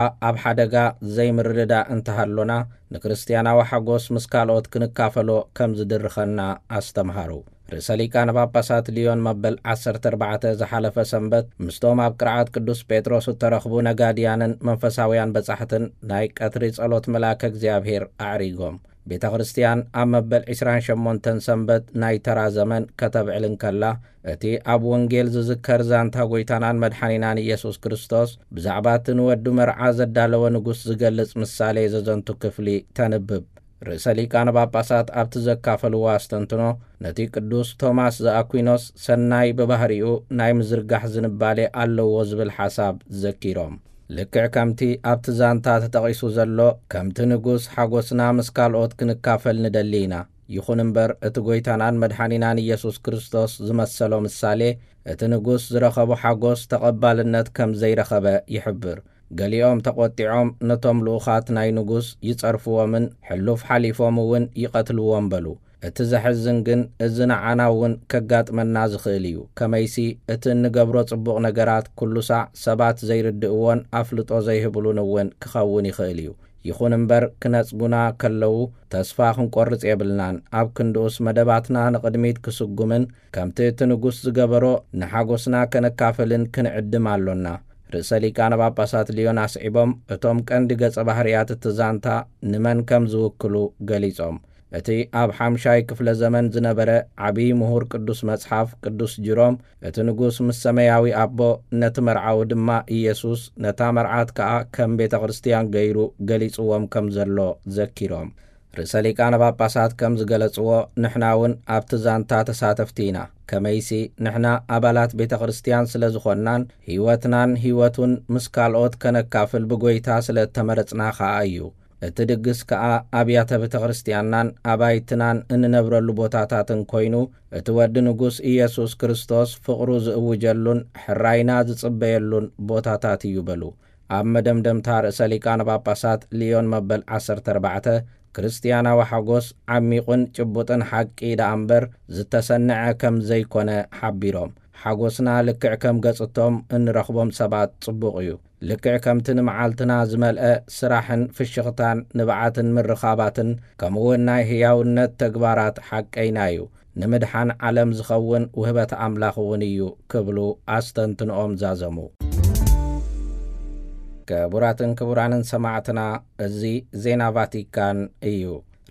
ኣብ ሓደጋ ዘይምርድዳእ እንተሃሎና፣ ንክርስትያናዊ ሓጎስ ምስ ካልኦት ክንካፈሎ ከም ዝድርኸና ኣስተምሃሩ። ርእሰ ሊቃነ ጳጳሳት ሊዮን መበል ዓሰርተ ኣርባዕተ ዝሓለፈ ሰንበት ምስቶም ኣብ ቅርዓት ቅዱስ ጴጥሮስ እተረኽቡ ነጋድያንን መንፈሳውያን በጻሕትን ናይ ቀትሪ ጸሎት መልኣከ እግዚኣብሔር ኣዕሪጎም። ቤተ ክርስትያን ኣብ መበል ዕስራን ሸሞንተን ሰንበት ናይ ተራ ዘመን ከተብዕል እንከላ፣ እቲ ኣብ ወንጌል ዝዝከር ዛንታ ጐይታናን መድሓኒናን ኢየሱስ ክርስቶስ ብዛዕባ እቲ ንወዱ መርዓ ዘዳለወ ንጉስ ዝገልጽ ምሳሌ ዘዘንቱ ክፍሊ ተንብብ። ርእሰ ሊቃነ ጳጳሳት ኣብቲ ዘካፈልዎ ኣስተንትኖ፣ ነቲ ቅዱስ ቶማስ ዘኣኩይኖስ ሰናይ ብባህሪኡ ናይ ምዝርጋሕ ዝንባሌ ኣለዎ ዝብል ሓሳብ ዘኪሮም። ልክዕ ከምቲ ኣብቲ ዛንታ ተጠቒሱ ዘሎ፣ ከምቲ ንጉስ ሓጎስና ምስ ካልኦት ክንካፈል ንደሊ ኢና። ይኹን እምበር፣ እቲ ጐይታናን መድሓኒናን ኢየሱስ ክርስቶስ ዝመሰሎ ምሳሌ፣ እቲ ንጉስ ዝረኸቦ ሓጎስ ተቐባልነት ከም ዘይረኸበ ይሕብር። ገሊኦም ተቖጢዖም ነቶም ልኡኻት ናይ ንጉስ ይጸርፍዎምን ሕሉፍ ሓሊፎም እውን ይቐትልዎም በሉ። እቲ ዘሕዝን ግን፣ እዚ ንዓና እውን ከጋጥመና ዝኽእል እዩ። ከመይሲ፣ እቲ እንገብሮ ጽቡቕ ነገራት ኩሉ ሳዕ ሰባት ዘይርድእዎን ኣፍልጦ ዘይህብሉን እውን ክኸውን ይኽእል እዩ። ይኹን እምበር፣ ክነጽጉና ከለዉ ተስፋ ክንቆርጽ የብልናን። ኣብ ክንድኡስ፣ መደባትና ንቕድሚት ክስጉምን ከምቲ እቲ ንጉስ ዝገበሮ ንሓጎስና ከነካፍልን ክንዕድም ኣሎና። ርእሰ ሊቃነ ጳጳሳት ሊዮን ኣስዒቦም፣ እቶም ቀንዲ ገጸ ባህርያት እቲ ዛንታ ንመን ከም ዝውክሉ ገሊጾም። እቲ ኣብ ሓምሻይ ክፍለ ዘመን ዝነበረ ዓብዪ ምሁር ቅዱስ መጽሓፍ ቅዱስ ጅሮም፣ እቲ ንጉስ ምስ ሰማያዊ ኣቦ፣ ነቲ መርዓዊ ድማ ኢየሱስ፣ ነታ መርዓት ከኣ ከም ቤተ ክርስትያን ገይሩ ገሊጽዎም ከም ዘሎ ዘኪሮም። ርእሰ ሊቃነ ጳጳሳት ከም ዝገለጽዎ፣ ንሕና እውን ኣብቲ ዛንታ ተሳተፍቲ ኢና። ከመይሲ፣ ንሕና ኣባላት ቤተ ክርስትያን ስለ ዝኾንናን፣ ህይወትናን ህይወቱን ምስ ካልኦት ከነካፍል ብጐይታ ስለ እተመረጽና ኸኣ እዩ። እቲ ድግስ ከኣ ኣብያተ ቤተ ክርስትያንናን ኣባይትናን እንነብረሉ ቦታታትን ኮይኑ፣ እቲ ወዲ ንጉስ ኢየሱስ ክርስቶስ ፍቕሩ ዝእውጀሉን ሕራይና ዝጽበየሉን ቦታታት እዩ በሉ። ኣብ መደምደምታ ርእሰ ሊቃነ ጳጳሳት ሊዮን መበል ዓሰርተ ኣርባዕተ፣ ክርስትያናዊ ሓጎስ ዓሚቑን ጭቡጥን ሓቂ ደኣ እምበር ዝተሰንዐ ከም ዘይኮነ ሓቢሮም፣ ሓጎስና ልክዕ ከም ገጽቶም እንረኽቦም ሰባት ጽቡቕ እዩ። ልክዕ ከምቲ ንመዓልትና ዝመልአ ስራሕን ፍሽኽታን ንብዓትን ምርኻባትን፣ ከምኡውን ናይ ህያውነት ተግባራት ሓቀይና እዩ። ንምድሓን ዓለም ዝኸውን ውህበት ኣምላኽ እውን እዩ ክብሉ ኣስተንትንኦም ዛዘሙ። ክቡራትን ክቡራንን ሰማዕትና፣ እዚ ዜና ቫቲካን እዩ።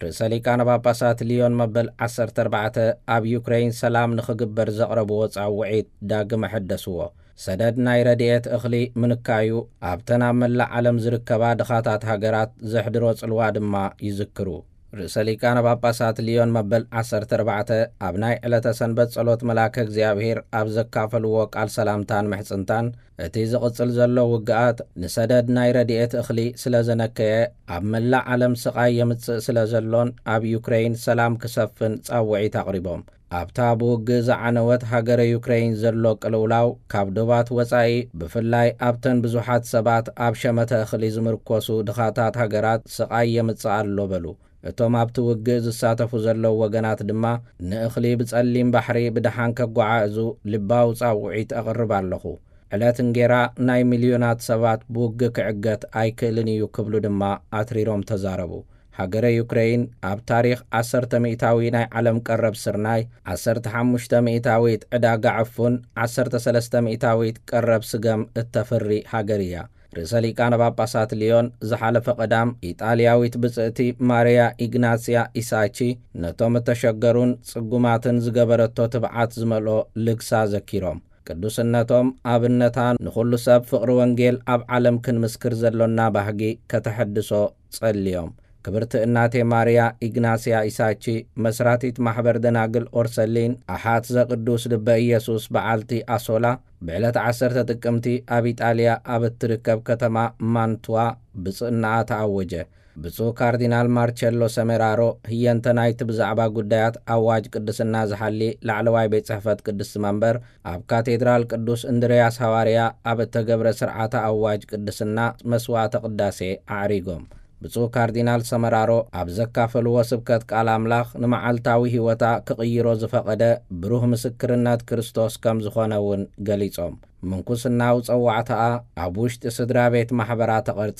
ርእሰ ሊቃነ ጳጳሳት ሊዮን መበል ዓሰርተ ኣርባዕተ ኣብ ዩክረይን ሰላም ንኽግበር ዘቕረብዎ ጻውዒት ዳግም ኣሐደስዎ። ሰደድ ናይ ረድኤት እኽሊ ምንካዩ ኣብተን ኣብ መላእ ዓለም ዝርከባ ድኻታት ሃገራት ዘሕድሮ ጽልዋ ድማ ይዝክሩ። ርእሰ ሊቃነ ጳጳሳት ሊዮን መበል ዓሰርተ ኣርባዕተ ኣብ ናይ ዕለተ ሰንበት ጸሎት መልኣከ እግዚኣብሔር ኣብ ዘካፈልዎ ቃል ሰላምታን ምሕጽንታን፣ እቲ ዝቕጽል ዘሎ ውግኣት ንሰደድ ናይ ረድኤት እኽሊ ስለ ዘነከየ፣ ኣብ መላእ ዓለም ስቓይ የምጽእ ስለ ዘሎን ኣብ ዩክረይን ሰላም ክሰፍን ጻውዒት ኣቕሪቦም። ኣብታ ብውግእ ዝዓነወት ሃገረ ዩክረይን ዘሎ ቅልውላው፣ ካብ ዶባት ወጻኢ ብፍላይ ኣብተን ብዙሓት ሰባት ኣብ ሸመተ እኽሊ ዝምርኮሱ ድኻታት ሃገራት ስቓይ የምጽእ ኣሎ በሉ። እቶም ኣብቲ ውግእ ዝሳተፉ ዘለዉ ወገናት ድማ፣ ንእኽሊ ብጸሊም ባሕሪ ብደሓን ከጓዓዕዙ ልባዊ ጻውዒት ኣቕርብ ኣለኹ። ዕለት እንጌራ ናይ ሚልዮናት ሰባት ብውግእ ክዕገት ኣይክእልን እዩ ክብሉ ድማ ኣትሪሮም ተዛረቡ። ሃገረ ዩክረይን ኣብ ታሪኽ ዓሰርተ ሚእታዊ ናይ ዓለም ቀረብ ስርናይ፣ ዓሰርተ ሓሙሽተ ሚእታዊት ዕዳጋ ዕፉን፣ ዓሰርተ ሰለስተ ሚእታዊት ቀረብ ስገም እተፍሪ ሃገር እያ። ርእሰ ሊቃነ ጳጳሳት ሊዮን ዝሓለፈ ቀዳም ኢጣልያዊት ብጽእቲ ማርያ ኢግናስያ ኢሳቺ ነቶም እተሸገሩን ጽጉማትን ዝገበረቶ ትብዓት ዝመልኦ ልግሳ ዘኪሮም፣ ቅዱስነቶም ኣብነታ ንኹሉ ሰብ ፍቕሪ ወንጌል ኣብ ዓለም ክንምስክር ዘሎና ባህጊ ከተሐድሶ ጸልዮም። ክብርቲ እናቴ ማርያ ኢግናስያ ኢሳቺ፣ መስራቲት ማሕበር ደናግል ኦርሰሊን፣ ኣሓት ዘቅዱስ ልበ ኢየሱስ በዓልቲ ኣሶላ፣ ብዕለት ዓሰርተ ጥቅምቲ ኣብ ኢጣልያ ኣብ እትርከብ ከተማ ማንቱዋ ብጽእናኣ ተኣወጀ። ብፁዕ ካርዲናል ማርቸሎ ሰሜራሮ፣ ህየንተ ናይቲ ብዛዕባ ጉዳያት ኣዋጅ ቅድስና ዝሓሊ ላዕለዋይ ቤት ጽሕፈት ቅድስቲ መንበር፣ ኣብ ካቴድራል ቅዱስ እንድርያስ ሃዋርያ ኣብ እተገብረ ስርዓተ ኣዋጅ ቅድስና መስዋዕተ ቅዳሴ ኣዕሪጎም። ብፁዕ ካርዲናል ሰመራሮ ኣብ ዘካፈልዎ ስብከት ቃል ኣምላኽ ንመዓልታዊ ሕይወታ ክቕይሮ ዝፈቐደ ብሩህ ምስክርነት ክርስቶስ ከም ዝኾነ እውን ገሊጾም። ምንኩስናዊ ጸዋዕታኣ ኣብ ውሽጢ ስድራ ቤት ማሕበራ ተቐርጸ።